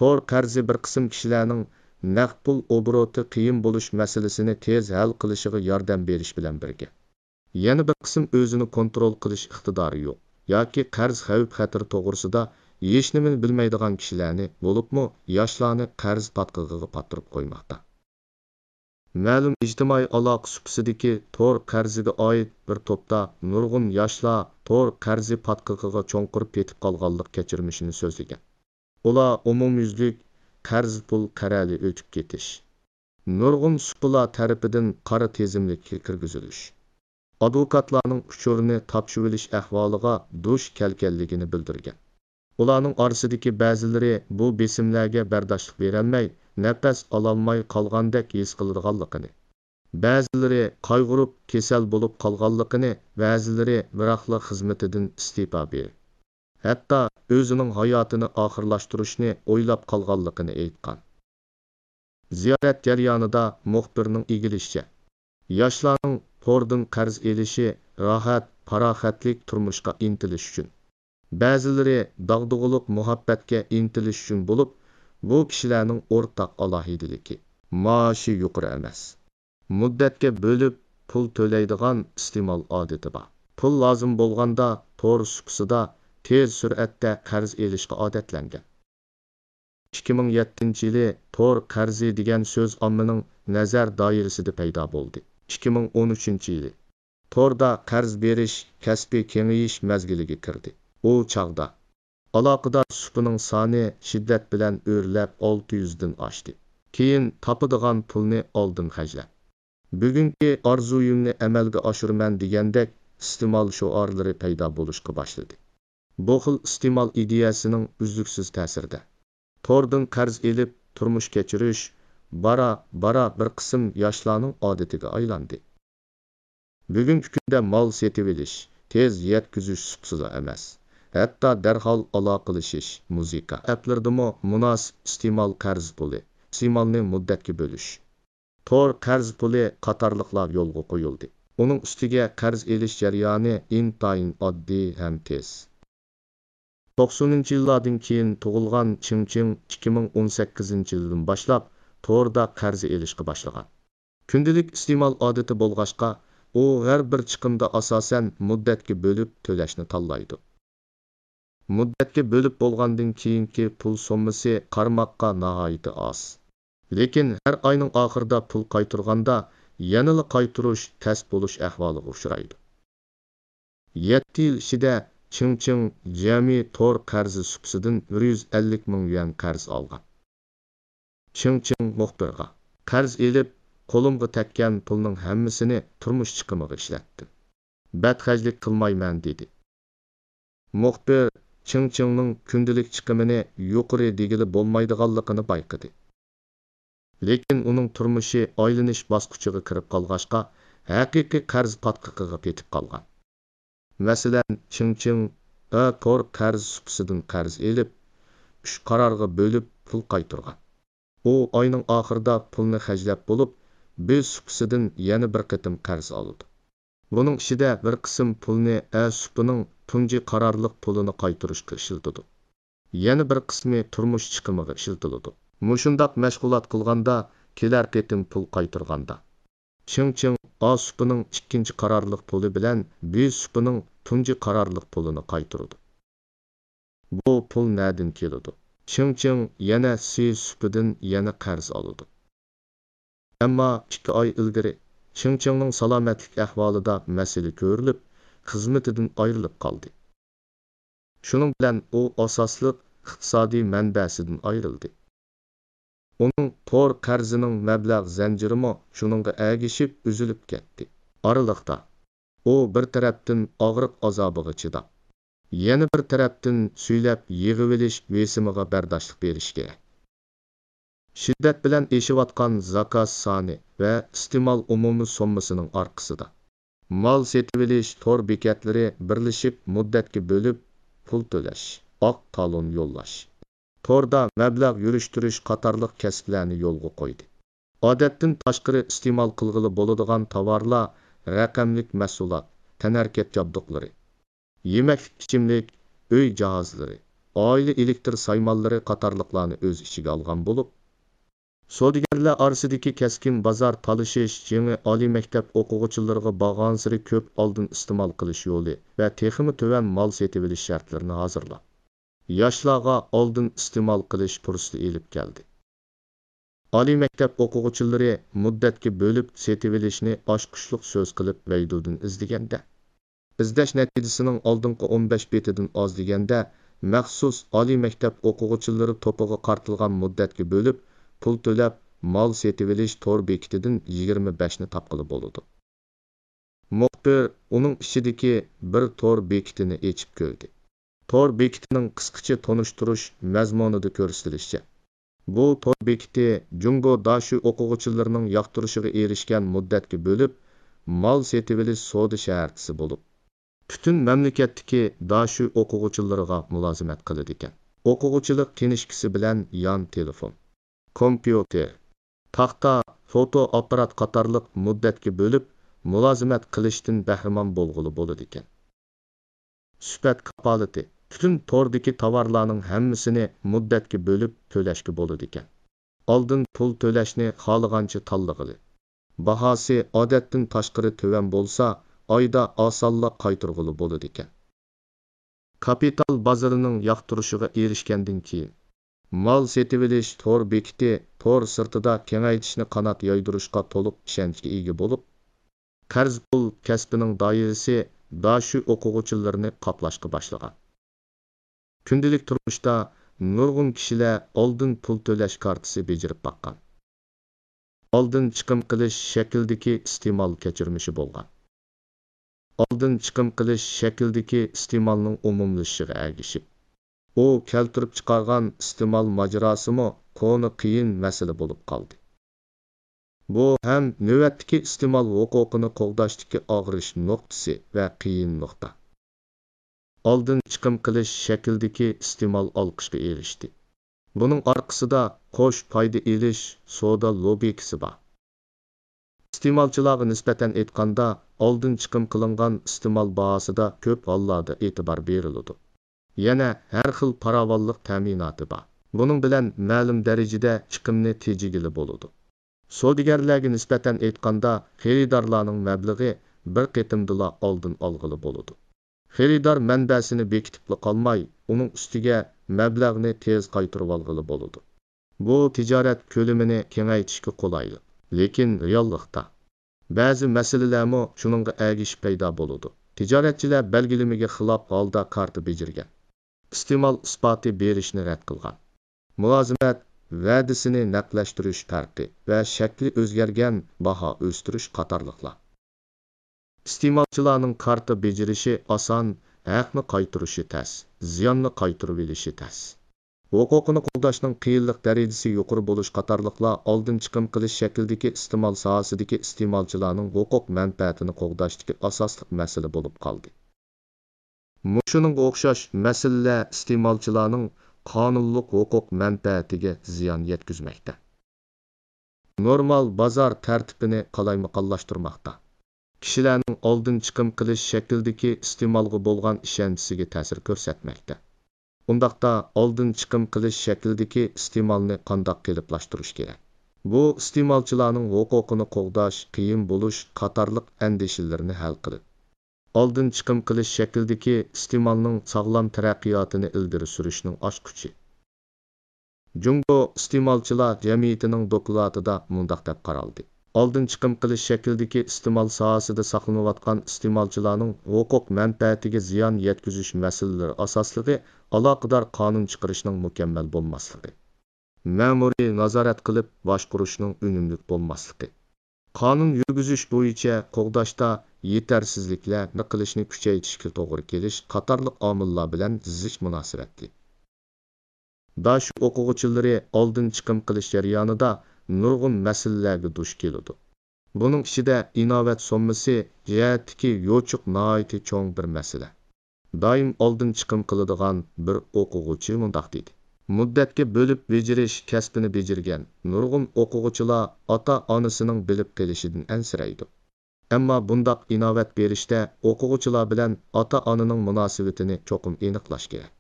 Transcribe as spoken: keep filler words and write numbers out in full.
تور قەرزى بىر قىسىم كىشىلەرنىڭ نەق پۇل ئوبوروتى قىيىن بولۇش مەسىلىسىنى تېز ھەل قىلىشىغا ياردەم بېرىش بىلەن بىرگە، يەنە بىر قىسىم ئۆزىنى كونترول قىلىش ئىقتىدارى يوق ياكى قەرز خەۋپ-خەتىرى توغرىسىدا ھېچنېمىنى بىلمەيدىغان كىشىلەرنى، بولۇپمۇ ياشلارنى قەرز پاتقىقىغا پاتتۇرۇپ قويماقتا. مەلۇم ئىجتىمائىي ئالاقە سۇپىسىدىكى تور قەرزىگە ئائىت بىر توپتا نۇرغۇن ياشلار تور قەرزى پاتقىقىغا چوڭقۇر پېتىپ قالغانلىق كەچۈرمىشىنى سۆزلىگەن. ئۇلار ئومۇميۈزلۈك قەرز پۇل قەرەلى ئۆتۈپ كېتىش، نۇرغۇن سۇپىلار تەرىپىدىن قارا تىزىملىككە كىرگۈزۈلۈش، ئادۋوكاتلارنىڭ ئۇچۇرىنى تاپشۇرۇۋېلىش ئەھۋالىغا دۇچ كەلگەنلىكىنى بىلدۈرگەن. ئۇلارنىڭ ئارىسىدىكى بەزىلىرى بۇ بېسىملەرگە بەرداشلىق بېرەلمەي، نەپەس ئالالماي قالغاندەك ھېس قىلىدىغانلىقىنى، بەزىلىرى قايغۇرۇپ كېسەل بولۇپ قالغانلىقىنى، بەزىلىرى بىراقلا خىزمىتىدىن ئىستېپا بېرىپ، ھەتتا ئۆزىنىڭ ھاياتىنى ئاخىرلاشتۇرۇشنى ئويلاپ قالغانلىقىنى ئېيتقان. زىيارەت جەريانىدا مۇخبىرنىڭ ئىگىلىشىچە، ياشلارنىڭ توردىن قەرز ئېلىشى راھەت، پاراخەتلىك تۇرمۇشقا ئىنتىلىش ئۈچۈن، بەزىلىرى داغدۇغىلىق مۇھەببەتكە ئىنتىلىش ئۈچۈن بولۇپ، بۇ كىشىلەرنىڭ ئورتاق ئالاھىدىلىكى، مائاشى يۇقىرى ئەمەس، مۇددەتكە بۆلۈپ پۇل تۆلەيدىغان ئىستېمال ئادىتى بار. پۇل لازىم بولغاندا تور سۇپىسىدا تېز سۈرئەتتە قەرز ئېلىشقا ئادەتلەنگەن. ئىككى مىڭ يەتتىنچى يىلى تور قەرزى دېگەن سۆز ئاممىنىڭ نەزەر دائىرىسىدە پەيدا بولدى. ئىككى مىڭ ئون ئۈچىنچى يىلى توردا قەرز بېرىش كەسپى كېڭىيىش مەزگىلىگە كىردى. ئۇ چاغدا ئالاقىدار سۇپىنىڭ سانى شىددەت بىلەن ئۆرلەپ ئالتە يۈزدىن ئاشتى. كېيىن تاپىدىغان پۇلنى ئالدىن خەجلەپ، بۈگۈنكى ئارزۇيۇمنى ئەمەلگە ئاشۇرىمەن دېگەندەك ئىستېمال شوئارلىرى پەيدا بولۇشقا باشلىدى. بۇ خىل ئىستېمال ئىدىيەسىنىڭ ئۈزلۈكسىز تەسىرىدە، توردىن قەرز ئېلىپ تۇرمۇش كەچۈرۈش بارا-بارا بىر قىسىم ياشلارنىڭ ئادىتىگە ئايلاندى. بۈگۈنكى كۈندە مال سېتىۋېلىش، تېز يەتكۈزۈش سۇپىسىلا ئەمەس، ھەتتا دەرھال ئالاقىلىشىش، مۇزىكا ئەپلىرىدىمۇ مۇناسىپ ئىستېمال قەرز پۇلى، ئىستېمالنى مۇددەتكە بۆلۈش، تور قەرز پۇلى قاتارلىقلار يولغا قويۇلدى. ئۇنىڭ ئۈستىگە قەرز ئېلىش جەريانى ئىنتايىن ئاددىي ھەم تېز. توقسىنىنچى يىللاردىن كېيىن تۇغۇلغان چىڭ چىڭ ئىككى مىڭ ئون سەككىزىنچى يىلدىن باشلاپ توردا قەرز ئېلىشقا باشلىغان. كۈندىلىك ئىستېمال ئادىتى بولغاچقا، ئۇ ھەر بىر چىقىمدا ئاساسەن مۇددەتكە بۆلۈپ تۆلەشنى تاللايدۇ. مۇددەتكە بۆلۈپ بولغاندىن كېيىنكى پۇل سوممىسى قارىماققا ناھايىتى ئاز. لېكىن ھەر ئاينىڭ ئاخىرىدا پۇل قايتۇرغاندا يەنىلا قايتۇرۇش تەس بولۇش ئەھۋالىغا ئۇچرايدۇ. يەتتە يىل ئىچىدە چىڭ چىڭ جەمئىي تور قەرزى سۇپىسىدىن بىر يۈز ئەللىك مىڭ يۈەن قەرز ئالغان. چىڭ چىڭ مۇخبىرغا، قەرز ئېلىپ، قولۇمغا تەگكەن پۇلنىڭ ھەممىسىنى تۇرمۇش چىقىمىغا ئىشلەتتىم. بەتخەجلىك قىلمايمەن، دېدى. مۇخبىر چىڭ چىڭنىڭ كۈندىلىك چىقىمىنى يۇقىرى دېگىلى بولمايدىغانلىقىنى بايقىدى. لېكىن ئۇنىڭ تۇرمۇشى ئايلىنىش باسقۇچىغا كىرىپ قالغاچقا، ھەقىقىي قەرز پاتقىقىغا پېتىپ قالغان. مەسىلەن، چىڭ چىڭ ئە تور قەرز سۇپىسىدىن قەرز ئېلىپ، ئۈچ قارارغا بۆلۈپ پۇل قايتۇرغان. ئۇ ئاينىڭ ئاخىرىدا پۇلنى خەجلەپ بولۇپ، بى سۇپىسىدىن يەنە بىر قېتىم قەرز ئالىدۇ. بۇنىڭ ئىچىدە بىر قىسىم پۇلنى ئە سۇپىنىڭ تۇنجى قارارلىق پۇلىنى قايتۇرۇشقا ئىشلىتىدۇ. يەنە بىر قىسمى تۇرمۇش چىقىمىغا ئىشلىتىلىدۇ. مۇشۇنداق مەشغۇلات قىلغاندا، كېلەر قېتىم پۇل قايتۇرغاندا، چىڭ چىڭ ئا سۇپىنىڭ ئىككىنچى قارارلىق پۇلى بىلەن بى سۇپىنىڭ تۇنجى قارارلىق پۇلىنى قايتۇرىدۇ. بۇ پۇل نەدىن كېلىدۇ؟ چىڭ چىڭ يەنە سى سۇپىدىن يەنە قەرز ئالىدۇ. ئەمما ئىككى ئاي ئىلگىرى چىڭ چىڭنىڭ سالامەتلىك ئەھۋالىدا مەسىلە كۆرۈلۈپ، خىزمىتىدىن ئايرىلىپ قالدى. شۇنىڭ بىلەن ئۇ ئاساسلىق ئىقتىسادىي مەنبەسىدىن ئايرىلدى. ئۇنىڭ تور قەرزىنىڭ مەبلەغ زەنجىرىمۇ شۇنىڭغا ئەگىشىپ ئۈزۈلۈپ كەتتى. ئارىلىقتا، ئۇ بىر تەرەپتىن ئاغرىق ئازابىغا چىداپ، يەنە بىر تەرەپتىن سۈيلەپ يىغىۋېلىش بېسىمىغا بەرداشلىق بېرىشى كېرەك. شىددەت بىلەن ئېشىۋاتقان زاكاز سانى ۋە ئىستېمال ئومۇمىي سوممىسىنىڭ ئارقىسىدا، مال سېتىۋېلىش تور بېكەتلىرى بىرلىشىپ مۇددەتكە بۆلۈپ پۇل تۆلەش، ئاق تالون يوللاش، توردا مەبلەغ يۈرۈشتۈرۈش قاتارلىق كەسىپلەرنى يولغا قويدى. ئادەتتىن تاشقىرى ئىستېمال قىلغىلى بولىدىغان تاۋارلار، رەقەملىك مەھسۇلات، تەنھەرىكەت جابدۇقلىرى، يېمەكلىك-ئىچىملىك، ئۆي جاھازلىرى، ئائىلە ئېلېكتىر سايمانلىرى قاتارلىقلارنى ئۆز ئىچىگە ئالغان بولۇپ، سودىگەرلەر ئارىسىدىكى كەسكىن بازار تالىشىش يېڭى ئالىي مەكتەپ ئوقۇغۇچىلىرىغا بارغانسېرى كۆپ ئالدىن ئىستېمال قىلىش يولى ۋە تېخىمۇ تۆۋەن مال سېتىۋېلىش شەرتلىرىنى ھازىرلاپ، ياشلارغا ئالدىن ئىستېمال قىلىش پۇرسىتى ئېلىپ كەلدى. ئالىي مەكتەپ ئوقۇغۇچىلىرى مۇددەتكە بۆلۈپ سېتىۋېلىشنى ئاچقۇچلۇق سۆز قىلىپ ۋەيدۇدىن ئىزدىگەندە، ئىزدەش نەتىجىسىنىڭ ئالدىنقى ئون بەش بېتىدىن ئاز دېگەندە، مەخسۇس ئالىي مەكتەپ ئوقۇغۇچىلىرى توپىغا قارىتىلغان مۇددەتكە بۆلۈپ پۇل تۆلەپ مال سېتىۋېلىش تور بېكىتىدىن يىگىرمە بەشنى تاپقىلى بولىدۇ. مۇخبىر ئۇنىڭ ئىچىدىكى بىر تور بېكىتىنى ئېچىپ كۆردى. تور بېكىتىنىڭ قىسقىچە تونۇشتۇرۇش مەزمۇنىدا كۆرسىتىلىشىچە، بۇ تور بېكىتى جۇڭگو داشۈ ئوقۇغۇچىلىرىنىڭ ياقتۇرۇشىغا ئېرىشكەن مۇددەتكە بۆلۈپ مال سېتىۋېلىش سودا شەھەرچىسى بولۇپ، پۈتۈن مەملىكەتتىكى داشۈ ئوقۇغۇچىلىرىغا مۇلازىمەت قىلىدىكەن. ئوقۇغۇچىلىق كىنىشكىسى بىلەن يان تېلېفون، كومپيۇتېر، تاختا، فوتو ئاپپارات قاتارلىق مۇددەتكە بۆلۈپ مۇلازىمەت قىلىشتىن بەھرىمەن بولغىلى بولىدىكەن. سۈپەت كاپالىتى، پۈتۈن توردىكى تاۋارلارنىڭ ھەممىسىنى مۇددەتكە بۆلۈپ تۆلەشكە بولىدىكەن. ئالدىن پۇل تۆلەشنى خالىغانچە تاللىغىلى. باھاسى ئادەتتىن تاشقىرى تۆۋەن بولسا، ئايدا ئاسانلا قايتۇرغىلى بولىدىكەن. كاپىتال بازىرىنىڭ ياقتۇرۇشىغا ئېرىشكەندىن كېيىن، مال سېتىۋېلىش تور بېكىتى تور سىرتىدا كېڭەيتىشنى قانات يايدۇرۇشقا تولۇق ئىشەنچكە ئىگە بولۇپ، قەرز پۇل كەسپىنىڭ دائىرىسى داشۈ ئوقۇغۇچىلىرىنى قاپلاشقا باشلىغان. كۈندىلىك تۇرمۇشتا نۇرغۇن كىشىلەر ئالدىن پۇل تۆلەش كارتىسى بېجىرىپ باققان. ئالدىن چىقىم قىلىش شەكلىدىكى ئىستېمال كەچۈرمىشى بولغان. ئالدىن چىقىم قىلىش شەكلىدىكى ئىستېمالنىڭ ئومۇملىشىشىغا ئەگىشىپ، ئۇ كەلتۈرۈپ چىقارغان ئىستېمال ماجىراسىمۇ كونا قىيىن مەسىلە بولۇپ قالدى. بۇ ھەم نۆۋەتتىكى ئىستېمال ھوقۇقىنى قوغداشتىكى ئاغرىش نۇقتىسى ۋە قىيىن نۇقتا. ئالدىن چىقىم قىلىش شەكلىدىكى ئىستېمال ئالقىشقا ئېرىشتى. بۇنىڭ ئارقىسىدا قوش پايدا ئېلىش سودا لوگىكىسى بار. ئىستېمالچىلارغا نىسبەتەن ئېيتقاندا، ئالدىن چىقىم قىلىنغان ئىستېمال باھاسىدا كۆپ ھاللاردا ئېتىبار بېرىلىدۇ. يەنە ھەر خىل پاراۋانلىق تەمىناتى بار. بۇنىڭ بىلەن مەلۇم دەرىجىدە چىقىمنى تېجىگىلى بولىدۇ. سودىگەرلەرگە نىسبەتەن ئېيتقاندا، خېرىدارلارنىڭ مەبلىغى بىر قېتىمدىلا ئالدىن ئالغىلى بولىدۇ. خېرىدار مەنبەسىنى بېكىتىپلا قالماي، ئۇنىڭ ئۈستىگە مەبلەغنى تېز قايتۇرۇۋالغىلى بولىدۇ. بۇ تىجارەت كۆلىمىنى كېڭەيتىشكە قولايلىق. لېكىن رېئاللىقتا، بەزى مەسىلىلەرمۇ شۇنىڭغا ئەگىشىپ پەيدا بولىدۇ. تىجارەتچىلەر بەلگىلىمىگە خىلاپ ھالدا كارتا بېجىرگەن، ئىستېمال ئىسپاتى بېرىشنى رەت قىلغان، مۇلازىمەت ۋەدىسىنى نەقلەشتۈرۈش پەرقى ۋە شەكلى ئۆزگەرگەن باھا ئۆستۈرۈش قاتارلىقلار. ئىستېمالچىلارنىڭ كارتا بېجىرىشى ئاسان، ھەقنى قايتۇرۇشى تەس، زىياننى قايتۇرۇۋېلىشى تەس. ھوقۇقىنى قوغداشنىڭ قىيىنلىق دەرىجىسى يۇقىرى بولۇش قاتارلىقلار ئالدىن چىقىم قىلىش شەكلىدىكى ئىستېمال ساھەسىدىكى ئىستېمالچىلارنىڭ ھوقۇق مەنپەئەتىنى قوغداشتىكى ئاساسلىق مەسىلە بولۇپ قالدى. مۇشۇنىڭغا ئوخشاش مەسىلىلەر ئىستېمالچىلارنىڭ قانۇنلۇق ھوقۇق مەنپەئەتىگە زىيان يەتكۈزمەكتە. نورمال بازار تەرتىپىنى قالايمىقانلاشتۇرماقتا. كىشىلەرنىڭ ئالدىن چىقىم قىلىش شەكلىدىكى ئىستېمالغا بولغان ئىشەنچىسىگە تەسىر كۆرسەتمەكتە. ئۇنداقتا ئالدىن چىقىم قىلىش شەكلىدىكى ئىستېمالنى قانداق قېلىپلاشتۇرۇش كېرەك؟ بۇ ئىستېمالچىلارنىڭ ھوقۇقىنى قوغداش، قىيىن بولۇش قاتارلىق ئەندىشىلىرىنى ھەل قىلىپ، ئالدىن چىقىم قىلىش شەكلىدىكى ئىستېمالنىڭ ساغلام تەرەققىياتىنى ئىلگىرى سۈرۈشنىڭ ئاچقۇچى. جۇڭگو ئىستېمالچىلار جەمئىيىتىنىڭ دوكلاتىدا مۇنداق دەپ قارالدى: ئالدىن چىقىم قىلىش شەكلىدىكى ئىستېمال ساھەسىدە ساقلىنىۋاتقان ئىستېمالچىلارنىڭ ھوقۇق مەنپەئەتىگە زىيان يەتكۈزۈش مەسىلىلىرى ئاساسلىقى ئالاقىدار قانۇن چىقىرىشنىڭ مۇكەممەل بولماسلىقى، مەمۇرىي نازارەت قىلىپ باشقۇرۇشنىڭ ئۈنۈملۈك بولماسلىقى، قانۇن يۈرگۈزۈش بويىچە قوغداشتا يېتەرسىزلىكلەر قىلىشنى كۈچەيتىشكە توغرا كېلىش قاتارلىق ئامىللار بىلەن زىچ مۇناسىۋەتلىك. داشۈ ئوقۇغۇچىلىرى ئالدىن چىقىم قىلىش جەريانىدا نۇرغۇن مەسىلىلەرگە دۇچ كېلىدۇ. بۇنىڭ ئىچىدە ئىناۋەت سوممىسى جەھەتتىكى يوچۇق ناھايىتى چوڭ بىر مەسىلە. دائىم ئالدىن چىقىم قىلىدىغان بىر ئوقۇغۇچى مۇنداق دېدى: مۇددەتكە بۆلۈپ بېجىرىش كەسپىنى بېجىرگەن نۇرغۇن ئوقۇغۇچىلار ئاتا-ئانىسىنىڭ بىلىپ قېلىشىدىن ئەنسىرەيدۇ. ئەمما بۇنداق ئىناۋەت بېرىشتە ئوقۇغۇچىلار بىلەن ئاتا-ئانىنىڭ مۇناسىۋىتىنى چوقۇم ئېنىقلاش كېرەك.